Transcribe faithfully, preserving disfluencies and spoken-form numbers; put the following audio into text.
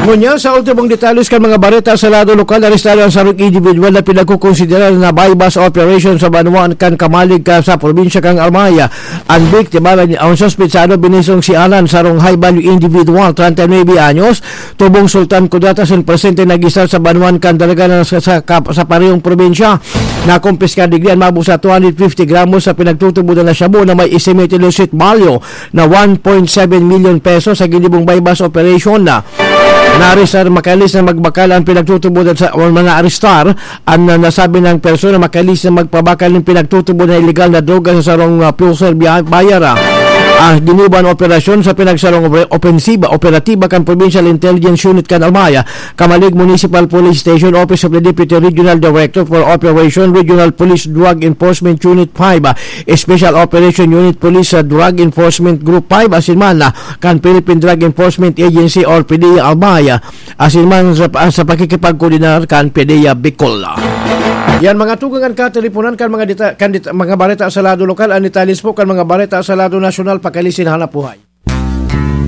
Ngunyan, sa ultimong detalles kan mga bareta sa lado lokal, arestado ang sarong individual na pinagkukonsiderar na buy-bust operation sa banwaan kan Kamalig ka sa probinsya kan Albay. An biktima, ang suspetsado, binisong si Alan, sarong high-value individual, treinta y nueve anyos, tubong Sultan Kudarat, asin presente nag-istar sa banwaan kan Daraganan sa, sa, kap- sa parehong probinsya. Nakumpiskar digdi an maabot sa two hundred fifty gramos sa pinagtutubodan na shabu na may estimated illicit value na one point seven million pesos sa ginibong buy-bust operation na naarestar. Makalis na magbakal ang pinagtutubodan sa, o mga arestar, ang, ah, nasabi ng persona, makalis na magpabakal ng pinagtutubodan na illegal na droga sa sarong, ah, fuel buyer. Ah, ginibo an operasyon sa pinagsarong opre-, opensiba, operatiba kan Provincial Intelligence Unit kan Albay, Kamalig Municipal Police Station, Office of the Deputy Regional Director for Operation, Regional Police Drug Enforcement Unit five, ah, Special Operation Unit Police, ah, Drug Enforcement Group five, asin man, ah, kan Philippine Drug Enforcement Agency or PDEA Albay, ah, asin man sa, sa pakikipagkoordinar kan PDEA Bicol. Yan, mga tugang, an kateleponan kan mga deta-, kan deta-, mga bareta sa lado lokal. An detalles po kan mga bareta sa lado nasyonal, pakalisin hanap buhay.